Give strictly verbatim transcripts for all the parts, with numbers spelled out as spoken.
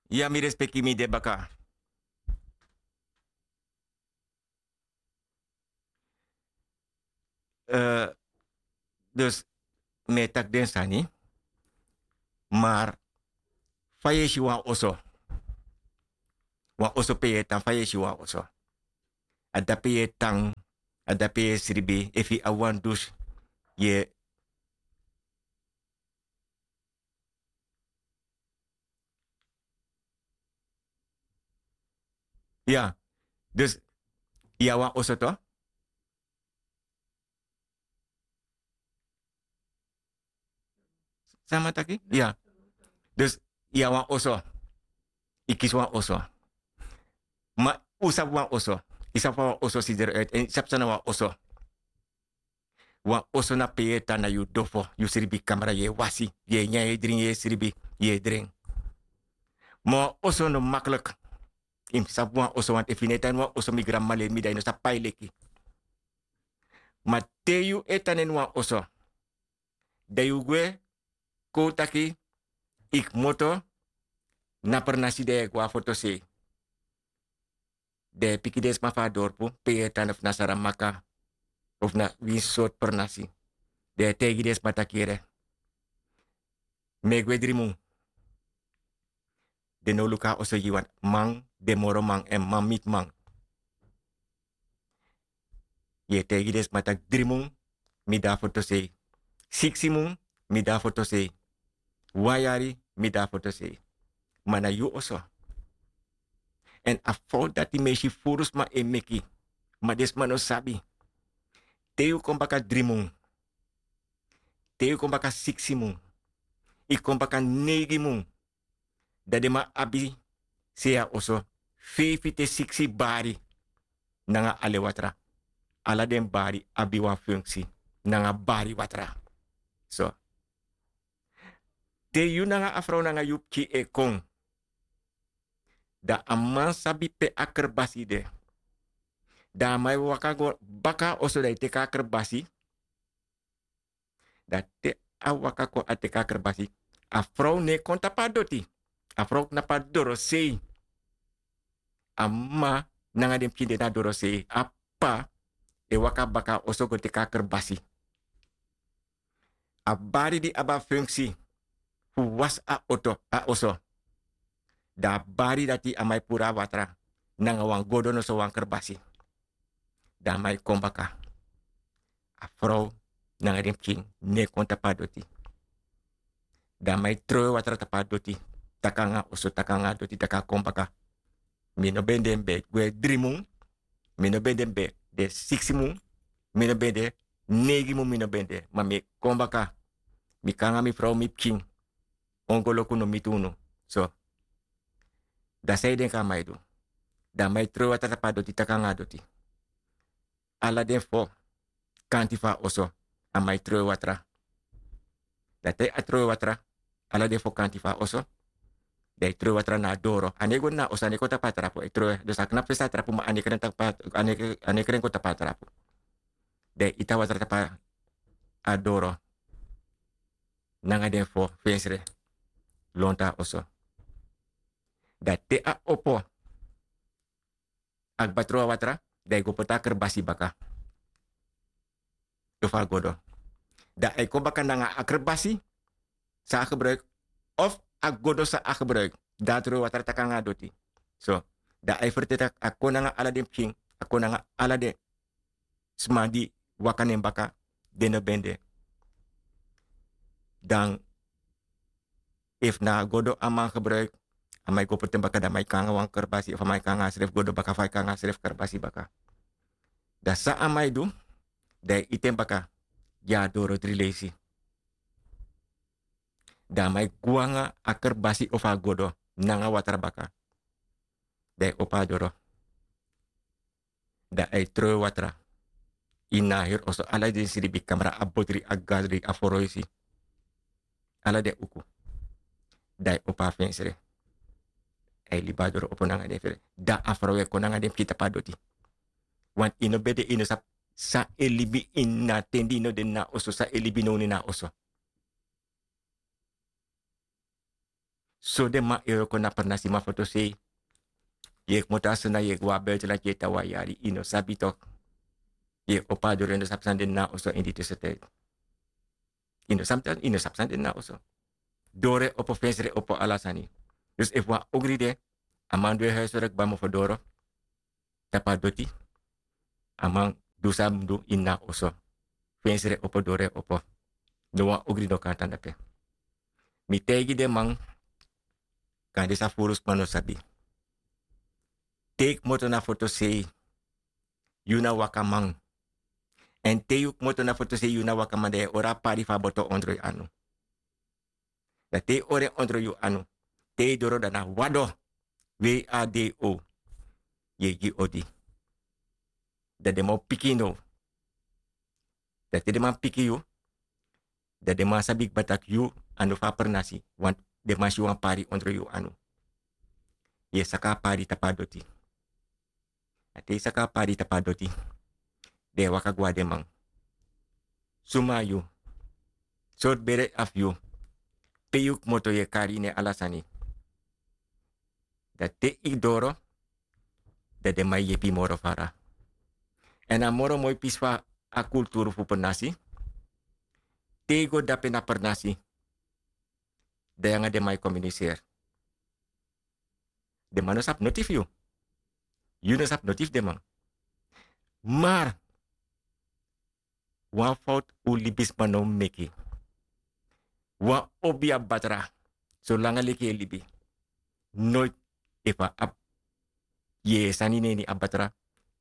Ya mi respeki mi de baka. Dus mi e taki den sani. Mar fa yu e si wan oso? Wan oso pe yu e tan fa yu e si wan oso? A dape yu e tan, a dape yu e sribi efu yu abi wan dus. Yu e ya. Dus yu abi wan oso to? San mi e taki ya. Dus yu abi wan oso. Yu kisi wan oso. Ma un sabi wan oso? Yu sabi fa wan oso sidere uit èn yu sabi san na wan oso? Wan oso na pe yu e tan na yu dofo, yu sribi kamra yu e wasi, yu e nyan yu e dringi yu e sribi, yu e dren. Ma wan oso no makliki. Yu mus sabi wan oso wantu efu yu no e tan ini wan oso mi granmama leri mi dan yu no sabi pai leki. Ma te yu e tan na ini wan oso, dan yu gwe kon un taki yu kmoto na pernasi dan yu e go na fotosei. Dan yu e piki den sma fu a dorpu pe yu e tan ofu na saramaka ofu na winsi sortu pernasi. Dan yu e taigi den sma taki yere, mi e gwe dri mun. Den no luku a oso gi wan man, den moro man èn man miti man. Yu e taigi den sma tak' dri mun mi de na fotosei. Siksi mun mi de na fotosei. Wan yari mi de na fotosei. Ma na yu oso. Èn a fowtu dati mi e si furu sma e meki. Ma den sma no sabi. Te yu kon baka dri mun, te yu kon baka siksi mun, yu kon baka neigi mun, dan den man abi sei a oso feifi te siksi bari nanga ale watra. Ala den bari abi wan funksi nanga bari watra. So te yu nanga a frow nanga yu pikin e kon, dan a man sabi pe a kerbasi de. Dan a man e waka go baka a oso dan e teki a kerbasi. Dan te a waka kon a teki a kerbasi, a frow no e kon tapu a doti. A frow knapu a dorosei. A mama nanga den pikin de na dorosei. A p'pa e waka baka a oso go teki a kerbasi. A bari di abi a funksi fu wasi a oto a oso. Dan a bari dati a man e puru a watra nanga wan godo noso wan kerbasi. Dan a man e kon baka. A frow nanga den pikin no e kon tapu a doti. Dan a man e trowe watra tapu a doti, taki nanga a oso taki nanga a doti taki a kon baka. Mi no ben de mi ben gwe dri mun. Mi no ben de mi ben de siksi mun. Mi no ben de neigi mun mi no ben de ma mi e kon baka. Mi kon nanga mi frow mi pikin. Ongoloku no miti unu. So dan san yu denki a man e du? Dan a man e trowe watra tapu a doti taki nanga a doti. Ala den fo kanti fu a oso a man e trowe watra. Dan te a trowe watra ala den fo kanti fu a oso, dan e trowe watra na a doro. A no e go na a oso a no e kon tapu a trapu e trowe dus a knapu fesi a trapu ma a no e kren kon tapu a trapu. Dan e iti a watra tapu a doro nanga den fo fensre lontu a oso. Dan te a opo a kba tron a watra, dan e go poti a kerbasi baka. Efu a godo dan a e kon baka nanga a kerbasi san a gebruiki, of a godo san a gebruiki. Dan a tron a watra taki nanga a doti. So dan a e ferteri tak' a kon nanga ala den pikin, a kon nanga ala den sma di waka na en baka, den no ben de. Dan efu na a godo a man gebruiki, a man e go poti en baka dan a man e kon nanga wan kerbasi efu a man e kon nanga a srefi godo baka fu a e kon nanga a srefi kerbasi baka. Dan san a man e du, dan e iti en baka gi a doro dri leisi. Dan a man e gwe nanga a kerbasi ofu a godo nanga watra baka. Dan e opo a doro. Dan a e trowe watra ini na a heri oso ala den sribi kamra a botri a gadri a foroisi, ala den uku. Dan a e opo a fensre. A e libi a doro opo nanga den fensre dan a frow e kon nanga den pikin tapu a doti. Wantu yu no ben de yu no sabi san e libi ini na a ten di yu no de ini na a oso san e libi nownu ini na a oso. So den man e wroko na pernasi man fotosei. Yu e kmoto a sona yu e go a buitenland yu e tan wan yari yu no sabi tok. Yu e opo a doro yu no sabi san de na a oso ini di tusu ten. Yu no sabi san de na a oso. Doro e opo fensre e opo ala sani. Dus efu wan ogri de a man du e huiswerk kba mofo doro tapu a doti. A man du san a mus du ini a oso. Fensre e opo doro e opo. No wan ogri no kan tan dape. Mi taigi den man kande san furu sma no sabi. Te yu kmoto na fotosei yu na wakaman. Èn te yu kmoto na fotosei yu na wakaman dan yu e hori a pari fu a boto ondro yu anu. Dan te yu hori en ondro yu anu te yu doro dan na wado. Wei a dei o yu e gi odi. Dan den man o piki yu now. Dan te den man piki yu dan den man sabi kba tak' yu a no fu a pernasi. Den man si wan pari ondro yu anu. Yu e saka a pari tapu a doti. A te yu saka a pari tapu a doti den e waka go na den man. Suma yu? Sortu bere a fu yu? Pe yu kmoto yu e kari yu nen ala sani. Dan te yu doro dan den man e yepi yu moro fara. Èn a moro moi pisi fu a kulturu fu pernasi. Te yu go dape na pernasi dan yu nanga den man e kominiseri. Den man no sabi noti fu yu. Yu no sabi noti fu den man. Mar wan fowtu un libisma no mus meki. Wan obi abi batra solanga leki yu e libi. Noiti efu a abi yeye sani na ini a batra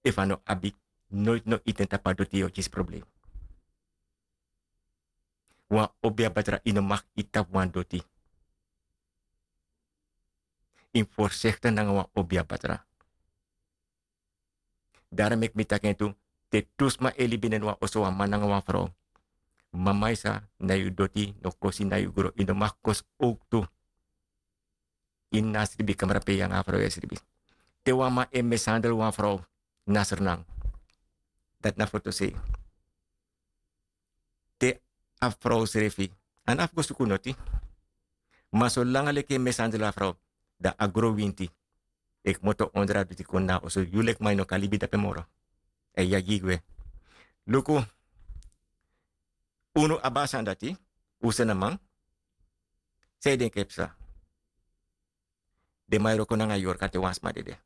efu a no abi noiti no iti en tapu a doti yu o kisi problem. Wan obi abi batra yu no maki iti tapu wan doti. Yu mus forsekte nanga wan obi abi batra. Daro meki mi taki en tu te tu sma e libi na ini wan oso wan man nanga wan frow. Mama yu sa na yu doti no kosi na yu gro yu no maki kosi owk tu. Ini na a sribi kamra pe yu nanga a frow e sribi. Te wan man e mesandel wan frow na sernan. Dati na fotosei. Te a frow srefi a no abi go suku noti. Ma solanga leki e mesandel a frow dan a gro winti e kmoto ondro a duti kon na a oso yu leki man yu no kan libi dape moro. A e yagi yu gwe. Luku. Unu abi a sani dati. Un seni a man. San yu denki e psa? Den man e wroko nanga yorka te wan sma dede.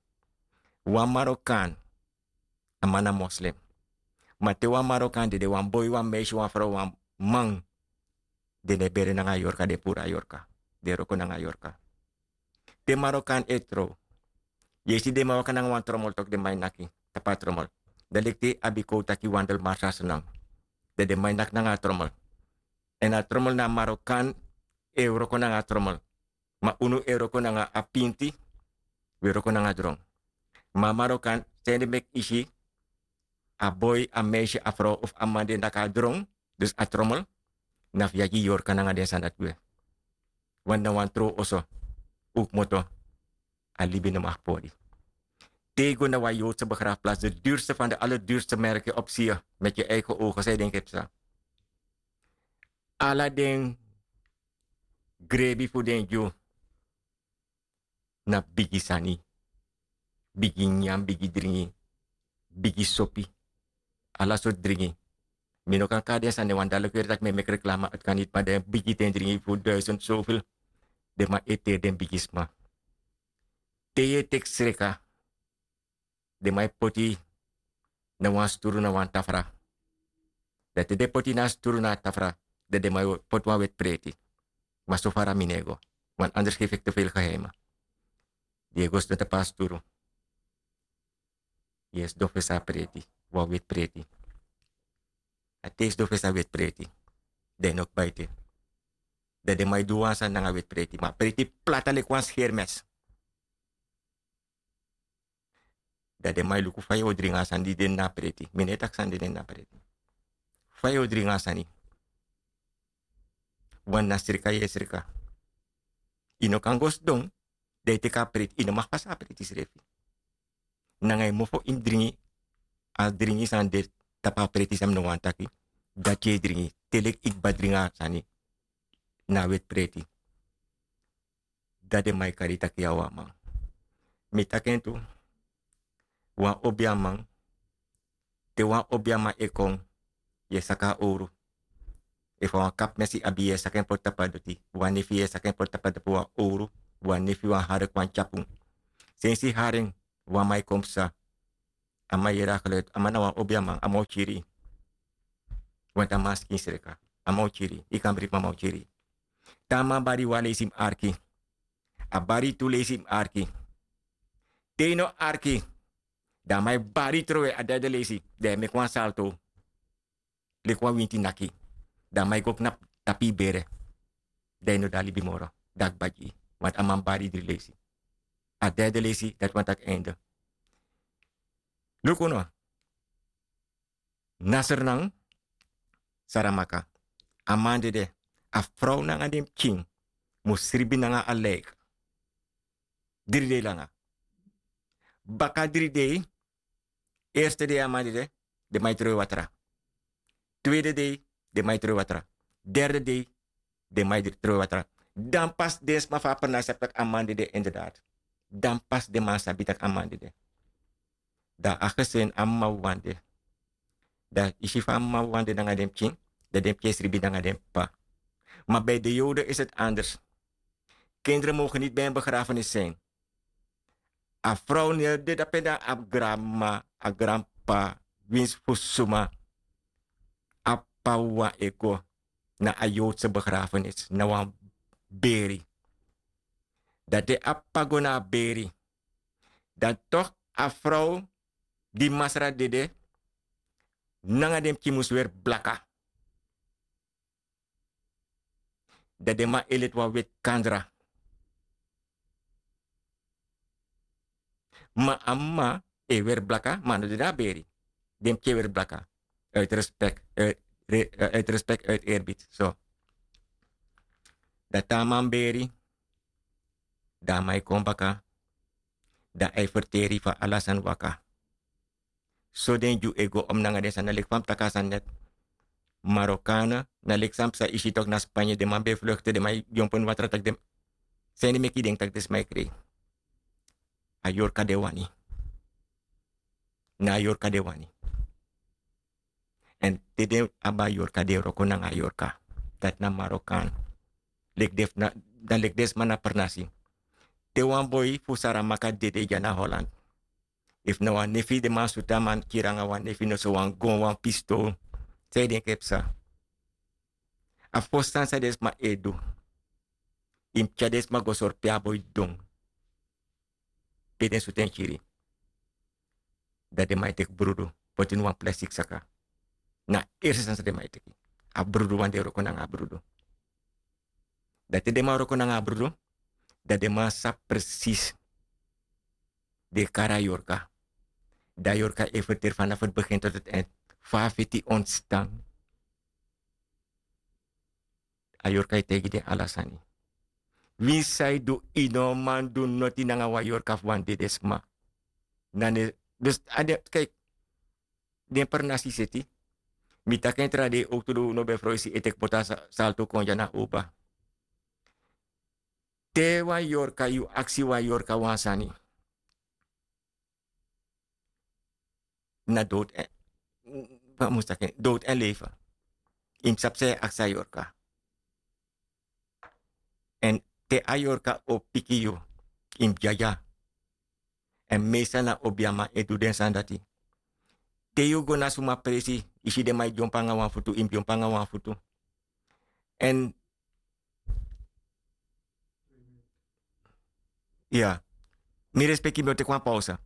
Wan marokan. A man na moslem. Ma te wan marokan dede wan boi wan meisi wan frow wan man den no e bere nanga a yorka den e puru a yorka. Den e wroko nanga a yorka. Te marokan e trow yu e si den man waka nanga wan tromol toki den man e naki tapu a tromol. Dan leki te yu abi kow taki wandel marsa snan dan den man e naki nanga a tromol. Èn a tromol na a marokan e wroko nanga a tromol. Ma unu e wroko nanga a pinti. Wi e wroko nanga dron. Ma a marokan sende meki yu si a boi a meisi a frow of a man di e naki a dron. Dus a tromol na fu yagi yorka nanga den sani dati gwe. Wani na wan trow oso un kmoto. A libi no maki pori. Te yu go na wan yowtse begrafplas de durste fan de alerdurste merke opsiye meki yu eigen ogen san yu denki e psa? Ala den grebi fu den dyu na bigi sani. Bigi nyan bigi dringi. Bigi sopi. Ala sortu dringi. Mi no kan kari den sani wan dali kweri tak' mi e meki reklama ati kan niti ma den bigi ten dringi fu duisend sofil. Den man e teri den bigi sma. Te yu e teki sreka den man e poti yu na wan sturu na wan tafra. Dan te den poti yu na a sturu na a tafra dan den man e poti wan weti preti. Ma so fara mi no e go. Wan anders gefi eki te feli geheima. Di e go sidon tapu a sturu yu e sidon fesi a preti. Wan weti preti. A te yu sidon fesi a weti preti dan yu no kba ete. Dan den man e du wan sani nanga weti preti ma a preti plata leki wan skermes. Dan den man e luku fa yu o dringi a sani di de na a preti mi no e taki sani di de na a preti. Fa yu o dringi a sani. Wan na srika yu e srika. Yu no kan go sidon dan yu teki a preti yu no maki pasa a preti srefi. Nanga yu mofo ini dringi a dringi sani de tapu a preti san mi no wani taki. Dati yu e dringi te leki yu kba dringi a sani na a weti preti. Dan den man e kari taki yu na wan man. Mi taki en tu. Wan obiaman, te wan obiaman e kon, yu e saka a owru. Efu a wan kapmesi abi, yu e saka en poti tapu a doti. Wan nefi, yu e saka en poti tapu a doti, wan owru, wan nefi, wan harek, wan tyapun. Sensi haren, wan man e kon psa. A man yere a geluid, a man na wan obiaman, a man o kiri yu. Want a man skin sreka, a man o kiri yu, yu kan bribi, ma a man o kiri yu. Te a man bari yu wan leisi, yu mus arki. A bari yu tu leisi, yu mus arki. Te yu no arki, dan a man e bari yu trowe a derde leisi, dan yu e meki wan salto. Leki wan winti naki. Dan a man e go knapu tapu yu bere. Dan yu no de na libi moro. Dan a kba gi yu. Want a man bari yu dri leisi. A derde leisi, dati wani taki einde. Luku no. Nasrnan, Saramaka. A man dede. A frow nanga den pikin mus sribi nanga a lijk. Dri dei langa. Baka dri dei, eerste dei a man dede, den man e trowe watra. Tweede dei, den man e trowe watra. Derde dei, den man e trowe watra. Dan pas den sma fu a pernasi sabi taki a man dede inderdaad. Dan pas den man sabi taki a man dede. Dan a gezin, a mama wawan de. Dan yu si fa a mama wawan de nanga den pikin, dan den pikin e sribi nanga den p'pa. Maar bij de Joden is het anders. Kinderen mogen niet bij een begrafenis zijn. A frow no e de dape, dan a granmama, a granp'pa, winsi fu suma, a p'pa wawan e go na a Joodse begrafenis, na wan beri. Dan te a p'pa go na a beri, dan toch a frow di masra dede nanga den pikin mus weri blaka. Dan den man e leti wan weti kandra. Ma a mama e weri blaka, ma a no de na a beri. Den pikin e weri blaka. Uit respect, uit, re- eh, uit respect, uit eerbied. So. Dan te a man beri, dan a man e kon baka, dan a e ferteri fu ala sani waka. So den Dyu e go om nanga den sani, na leki fa mi taki a sani net. Marokana, na leki san psa, yu si tok' na Spanje, den man ben e vluchten, den man e dyompo ini watra taki den. San ede meki yu denki taki den sma e krei? A yorka den wani. Na a yorka den wani. Èn te den abi a yorka, den e wroko nanga a yorka. Dati na Marokan. Leki den fu na, dan leki den sma na pernasi. Te wan boi fu Saramaka dede dya na Holland. Efu na wan nefi, den man sutu a man, kiri nanga wan nefi, noso wan gon, wan pistol. San yu denki e psa? A fosi sani san den sma e du, yu mus tyari den sma go sori pe a boi didon. Pe den sutu en kiri. Dan den man e teki brudu poti ini wan plastik saka. Na a erste sani san den man e teki. A brudu, wan den e wroko nanga a brudu. Dan te den man wroko nanga a brudu, dan den man sabi presis. Den e kari a yorka. Dan a yorka e ferteri vanaf het begin tot het eind. Fa a feti ontstaan. A yorka e taigi den ala sani. Winsi san yu du, yu no man du noti nanga wan yorka fu wan dede sma. Na ne, dus a de, kijk, den pernasi seti. Mi taki en tra dei, ook tu du no ben froisi e teki bota sa-, salto kon dya na oba. Te wan yorka, yu aksi wan yorka wan sani. Na dood en, fa mi mus taki en, dood en leven. Yu mus sabi san yu e aksi a yorka. Èn te a yorka o piki yu, yu mus dyadyari. Èn meestal na obiaman e du den sani dati. Te yu go na suma presi, yu si den man e dyompo nanga wan futu, yu mus dyompo nanga wan futu. Èn, ya, mi respeki, mi o teki wan pausa.